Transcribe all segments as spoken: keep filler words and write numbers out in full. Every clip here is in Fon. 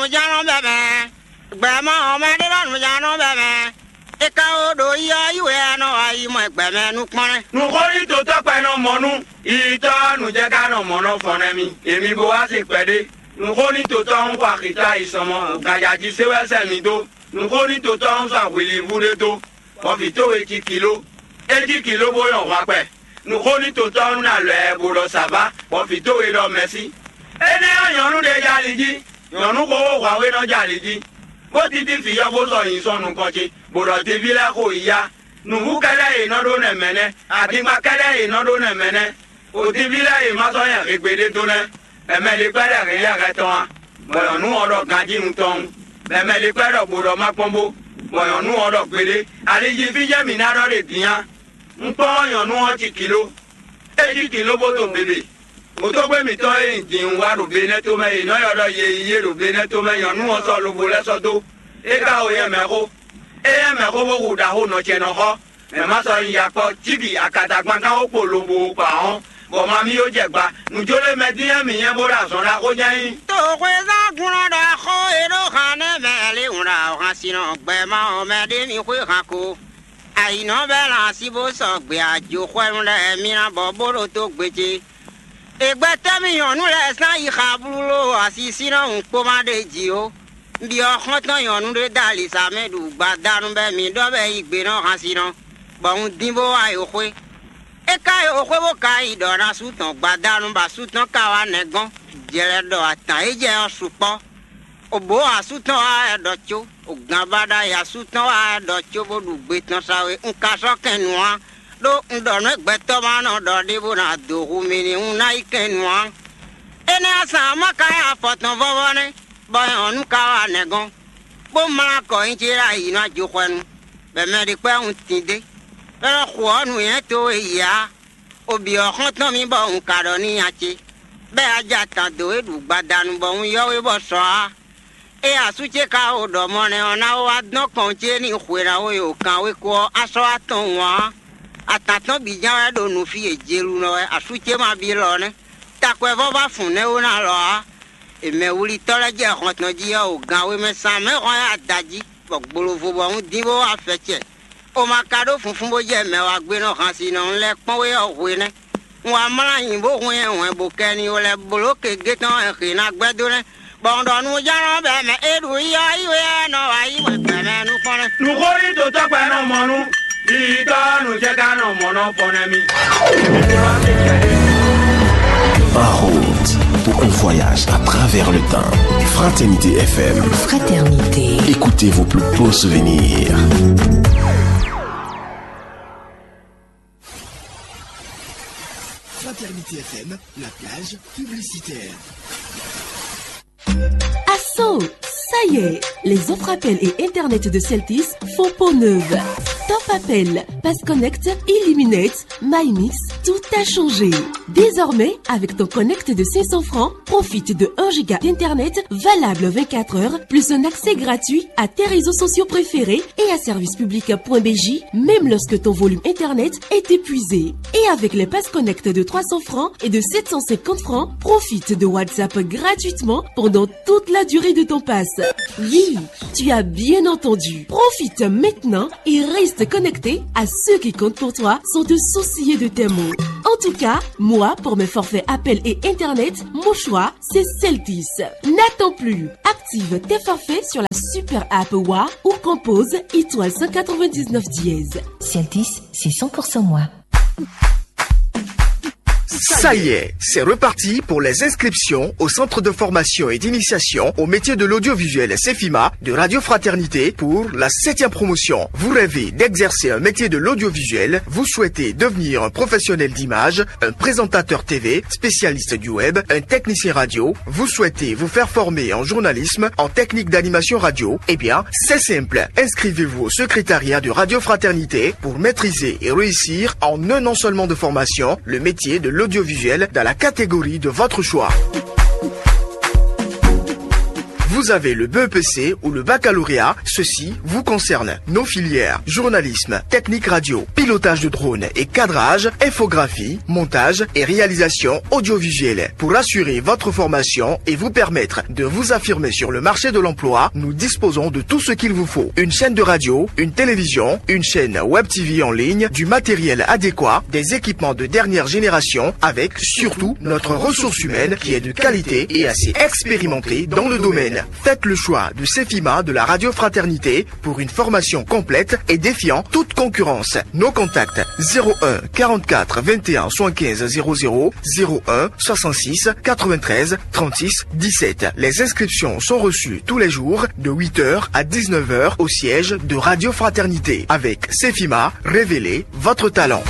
Nǔjánɔ bɛ́ mɛ, gbɛ̌ ma ɔ́ mɛ ɖé ɖɔ nǔjánɔ bɛ́ mɛ. É ka ó ɖo yi ɔ́ yi wɛ a nɔ wá yi mɔ gbɛ̌ mɛ nukpɔ́n lɛ́ɛ. Nǔxó ní totɔ́ kpɛ nɔ mɔ nú yitɔ́ nǔjɛ ka nɔ mɔ nɔ fɔn nɛ́ mi. Èmi bo wá se kpɛɖé. Nǔxó ní totɔ́ ń xɔ axǐta yi sɔmɔ, gǎnjá jí sé wɛ sɛ́ mi dó. Nǔxó ní totɔ́ ń sɔ́ hwilíbú ɖé dó, bɔ vǐ towe cí kiló. É cí kiló bó nyɔ hwankpɛ. Nǔxó ní totɔ́ nú ná lɔ̌ ɛ bó ɖɔ sǎvá, bɔ vǐ towe ɖɔ mɛ̌si. Énɛ́ ɔ́, nyɔ̌nu ɖé jɛ ali jí, nyɔ̌nu xóxó hwǎwe nɔ jɛ ali jí, bó títí vǐ ɔ́ bó sɔ́ nyi sɔ́ nukɔn ce, bó ɖɔ teví lɛ́ɛ xo yi yá. Nǔvú kɛ́ɖɛ́ e nɔ ɖó nɛ́ mɛ nɛ́, adingba kɛ́ɖɛ́ e nɔ ɖó nɛ́ mɛ nɛ́. Otíví lɛ́ɛ e ma sɔ́ nyɛ hegbe ɖé dó nɛ́, bɔ mɛ ɖé kpɛ́ ɖɔ hɛ̌nnyɛ́hɛ́ tɔn a? Bɔ nyɔ̌nu ɔ́ ɖɔ ganjí tɔn, bɔ mɛ ɖé kpɛ́ ɖɔ gbo ɖɔ má kpɔ́n bó, bɔ nyɔ̌nu ɔ́ ɖɔ gbeɖé. Ali jí fí jɛ́n mǐ ná ɖɔ ɖe din á. Un kpɔ́n nyɔ̌nu ɔ́ ci kǐló, é cí kǐló bó to běbè. Hǒtógbé mǐtɔn e nyi din wá ɖo Benɛ́to mɛ, è nɔ ylɔ́ ɖɔ ye yí yé ɖo Benɛ́to mɛ, nyɔ̌nu ɔ́ sɔ́ lobo lɛ́ sɔ́ dó. É ka o yɛ mɛ xó, é yɛ mɛ xó bó hu ɖaxó nɔ ce nɔ xɔ. Mɛ ma sɔ́ nyi ya kpɔ́ cíbǐ akatagban kán xó kpo lobo kpa ɔ́, bɔ ma mì yó jɛ gba. Nǔjó lé mɛ dín wɛ mǐ nyɛ bó ɖo azɔn ɖaxó jɛ́n nyí. Toxwezán glɔ́n ɖaxó e ɖó han nɛ́ mɛ lé wǔn ɖo han sin nɔ gbɛ ma ɔ́ mɛ ɖé mi xwé han ko. Ayǐnɔ bɛ́ lan así bó sɔgbe ajoxwɛ́nu lɛ́ɛ mì ná bɔ bó ɖo tó gbe ce. È gbɛtɔ́ mì nyɔ̌nu lɛ́ɛ sán yi xablú ló asisínɔ hǔnkpóma ɖé jí ó. Byɔ́ xɔ́ntɔn nyɔ̌nu ɖé dó alisá mɛ ɖu gbadanu bɔ mǐ ɖɔ bɔ é yí gbe nɔ hansinɔ, bɔ un dín bó wá yi xwé. É ka yi xwé bó ka yi ɖɔ ná sú tɔn gbadanu, bɔ asú tɔn ka wá nɛ́ gɔ́n, jlɛ ɖɔ atǎn e jɛ ɔ́ sukpɔ́. Obǒ asú tɔn wá wɛ ɖɔ có, ogǎnbaɖa e asú tɔn wá wɛ ɖɔ có bó ɖu gbe tɔn sa wé, un ka sɔ́ kɛn nǔ ǎ, ɖó un ɖɔ nǔ e gbɛtɔ́ ma nɔ ɖɔ ɖé bó ná dǒ hu mì ní un ná yi kɛn nǔ ǎ. Énɛ́ ɔ́, sán ɔ́ ma ka nyí afɔ tɔn vɔ́vɔ́ nɛ́, bɔ nyɔ̌nu ka wá nɛ́ gɔ́n, bó mlá kɔ nyi ce ɖo ayǐ nú ajoxwɛnu, bɔ mɛ ɖé kpɛ́ un tín dé, bɔ é nɔ xo ɔ́ nǔnywɛ́ towe yi ǎ. Obyɔ̌ xɔ́ntɔn mì bɔ un ka ɖɔ n'i nya ce, bɔ é wá jɛ atan dǒ we ɖu gbadanu bɔ un ylɔ́ we bɔ sɔ ǎ. Ée asú ce ka xo ɖɔ mɔ nɛ́ ɔ́ ná wá dɔn kɔn ce n'i hwe ná xo yi wǒ kan wé ko ɔ́, á sɔ́ wá tɔn wǎn ǎ. Atan tɔn bǐ ján wɛ ɖo nǔ fí e Jelunɔ wɛ asú ce ma byɔ́ ɔ́ nɛ́. Takwɛ́vɔ́ vá fun nɛ́ ó ná lɔ ǎ. È mɛ wlítɔ́ lɛ́ɛ jɛ hɔn tɔn jí ɔ́, o gan wé mɛ sán mɛ hɔn ɛ ada jí, bɔ gbolovo bɔ un dín bó wá fɛ cɛ. O ma ka ɖó funfún bó jɛ mɛ wá gbe nɔ han si nɔ un lɛ́ kpɔ́n we ɔ́ hwenɛ́. Un wá mlá nyi bó hwɛn hwɛn bó kɛ ni o lɛ́ bló kegé tɔn e hě ná gbɛ́ dó nɛ́, bɔ un ɖɔ nú jánɔ bɔ mɛ é ɖu yi ɔ́ yi wɛ ɔ́ nɔ wá yi wɛ gbɛ mɛ nukɔn nɛ́. Nǔxó ní dǒtɔ́ gbɛ nɔ mɔ nú yiyitɔ́ nǔjɛgán nɔ mɔ nɔ fɔ nɛ́ mi. En route pour un voyage à travers le temps. Fraternité F M. Fraternité. Écoutez vos plus beaux souvenirs. Fraternité F M, la plage publicitaire. Asso, ça y est, les offres appel et internet de Celtis font peau neuve. Top appel, pass connect, illuminate, MyMix, tout a changé. Désormais, avec ton connect de cinq cents francs, profite de un giga d'internet valable vingt-quatre heures, plus un accès gratuit à tes réseaux sociaux préférés et à service public point B J, même lorsque ton volume internet est épuisé. Et avec les pass connect de trois cents francs et de sept cent cinquante francs, profite de WhatsApp gratuitement pendant toute la durée de ton pass. Oui, tu as bien entendu. Profite maintenant et reste connecté à ceux qui comptent pour toi sans te soucier de tes mots. En tout cas, moi, pour mes forfaits appel et internet, mon choix, c'est Celtis. N'attends plus. Active tes forfaits sur la super app Wa ou compose étoile cent quatre-vingt-dix-neuf dièse. Celtis, c'est cent pour cent moi. Ça y est, c'est reparti pour les inscriptions au Centre de formation et d'initiation au métier de l'audiovisuel Cefima de Radio Fraternité pour la septième promotion. Vous rêvez d'exercer un métier de l'audiovisuel, vous souhaitez devenir un professionnel d'image, un présentateur T V, spécialiste du web, un technicien radio, vous souhaitez vous faire former en journalisme, en technique d'animation radio, eh bien, c'est simple. Inscrivez-vous au secrétariat de Radio Fraternité pour maîtriser et réussir en un an seulement de formation le métier de l'audiovisuel dans la catégorie de votre choix. Vous avez le B E P C ou le baccalauréat, ceci vous concerne. Nos filières, journalisme, technique radio, pilotage de drone et cadrage, infographie, montage et réalisation audiovisuelle. Pour assurer votre formation et vous permettre de vous affirmer sur le marché de l'emploi, nous disposons de tout ce qu'il vous faut. Une chaîne de radio, une télévision, une chaîne web T V en ligne, du matériel adéquat, des équipements de dernière génération, avec surtout notre ressource humaine qui est de qualité et assez expérimentée dans le domaine. Faites le choix de Cefima de la Radio Fraternité pour une formation complète et défiant toute concurrence. Nos contacts: zéro un quarante-quatre vingt et un soixante-quinze zéro zéro, zéro un soixante-six quatre-vingt-treize trente-six dix-sept. Les inscriptions sont reçues tous les jours de huit heures à dix-neuf heures au siège de Radio Fraternité. Avec Cefima, révélez votre talent.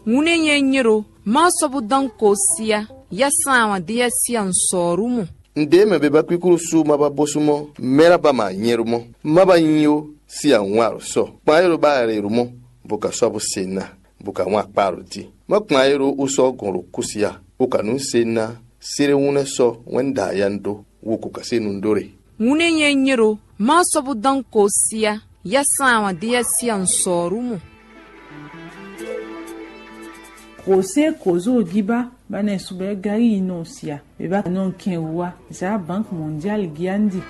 Ŋunɛ nyɛ nyɛ ɖo ma sɔbu dan ko sia ya san wan dia sia nsɔrumu. Nde me be ba kwikulu su ma ba bosu mo mera ba ma nyɛru mo ma ba nyi o si anwa ro sɔ kpa ero ba re ru mo bo ka sɔ bo se na bo ka wan kpa ro di. Ma kpa ero u sɔ gon ro kusia u ka nu se na sere wunɛ sɔ wɛn da ya ndo wo ko ka se nu ndo re. Ŋunɛ nyɛ nyɛ ɖo ma sɔbu dan ko sia ya san wan dia sia nsɔrumu. Kò se kò zó jí ba ba nɛ subɛ gari yi nɔ sia be ba nɔ kɛn wa za banque mondiale giandi.